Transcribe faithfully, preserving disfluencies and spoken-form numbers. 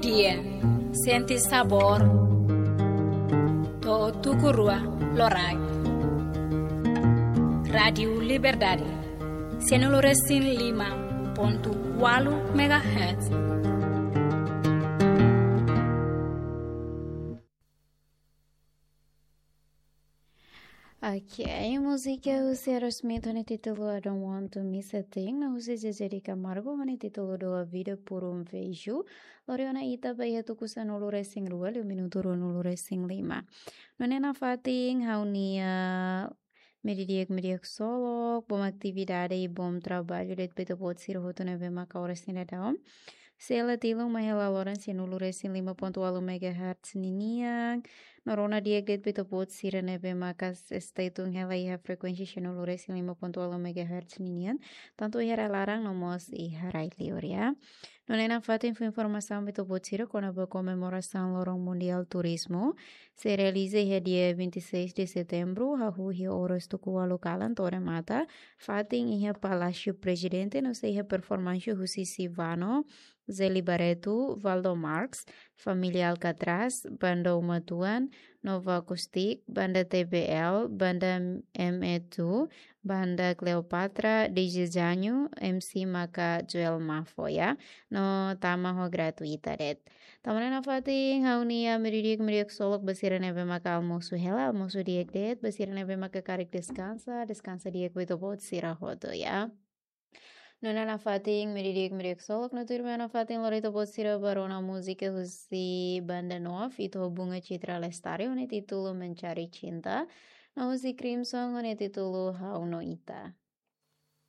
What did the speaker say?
Dia, sente sabór. To'o tuku rua loraik. Rádiu Liberdade, sianulu resin lima pontu ualu megahertz. Ok, múzika husi Aerosmith ho nia títulu I Don't Want to Miss a Thing, no husi Zezé de Camargo ho nia títulu Dou a Vida por um Beijo. Lori ona ita ba iha tuku sanulu resin rua, liu minutu ruanulu resin lima. No ne'e nafatin ha'u-nia meiudia di'ak, meiudia ksolok, bom atividade i bom traballu de'it ba ita-boot sira hotu ne'ebé maka oras ne'e daudaun sei hela tilun mai hela loron sianulu resin lima pontu ualu megahertz ninian. No rona di'ak de'it ba ita-boot sira ne'ebé maka s-, stay tune hela iha frekuénsia sianulu resin lima pontu ualu megahertz ninian, tantu iha rai laran no mós iha rai liur, ya. No ne'e nafatin fó informasaun ba ita-boot sira kona-ba komemorasaun Loron Mundiál Turizmu sei realiza iha dia vinte e seis de setembro, hahú iha oras tuku ualu kalan to'o remata, fatin iha Palásiu Prezidente, no sei iha performánsia husi Sivano, Zeli Barreto, Valdo Marx, Família Alcatraz, Banda Uma Tuan, Nova Acoustic, Banda T B L, Banda M E two, Banda Cleopatra, D J Janho, M C maka Joel Mafo, ya. No tama ho gratuita de'it. Tanba ne'e nafatin ha'u-nia meiudia di'ak, meiudia ksolok ba sira ne'ebé maka almosu hela, almosu di'ak de'it, ba sira ne'ebé maka karik deskansa, deskansa di'ak ba ita-boot sira hotu, ya. No ne'e nafatin meiudia di'ak, meiudia ksolok, no tuirmai nafatin lori ita-boot sira ba rona múzika husi Banda Nov, Ito Bunga Citra Lestari, ho nia títulu Mencari Cinta, no husi Crimson, ho nia títulu Ha'u no Ita.